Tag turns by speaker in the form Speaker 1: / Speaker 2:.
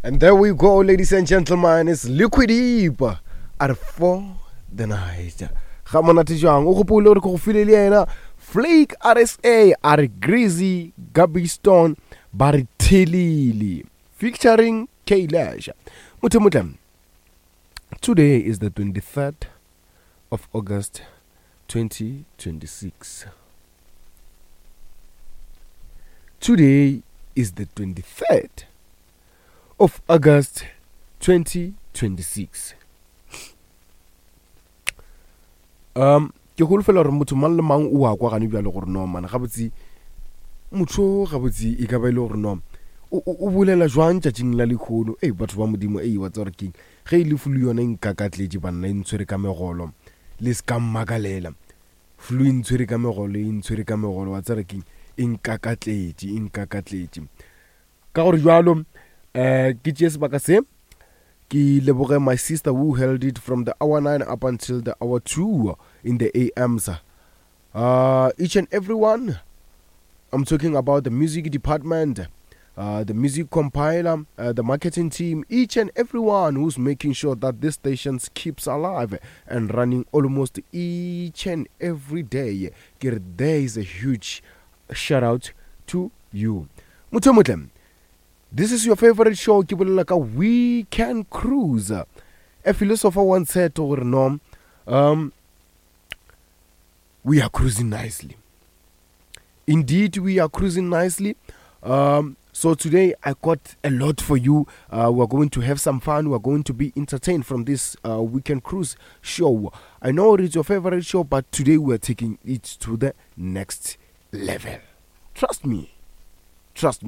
Speaker 1: And there we go, ladies and gentlemen. It's Liquid Deep at 4 the night. Ga monate jwang o gopole gore ke go file le yena Flake RSA a re Greasy Gabi Stone ba re Thelile featuring K Lash. Motho motle. Today is the 23rd of August 2026. Today is the 23rd of August 2026. Um ke holofela gore motho mang le mang o a kwa gane bjalo gore no man gabotse motho gabotse e ka ba e le gore no o bolela jwang tšatšing la lekgono ei batho ba modimo ei wa tseba gore keng ge e le flu yone e nkakatletše banna e ntshwere ka megolo le se ka mmakalela Flu e ntshwere ka megolo, e ntshwere ka megolo, wa tseba keng, e nkakatletše, e nkakatletše. Ka gore jwalo, um ke tšee sebaka se, ke leboge my sister who held it from the hour 9 up until the hour 2 in the AMs. Uh, each and every one, I'm talking about the music department, uh, the music compiler, uh, the marketing team, each and everyone who's making sure that this station keeps alive and running almost each and every day. There is a huge shout out to you. Motho motle, this is your favorite show ke bolela ka We Can Cruise. A philosopher once said gore no, um, we are cruising nicely. Indeed, we are cruising nicely. Um, so today I got a lot for you. Uh, we're going to have some fun. We're going to be entertained from this uh, weekend cruise show. I know it's your favorite show, but today we're taking it to the next level. Trust me. Trust me.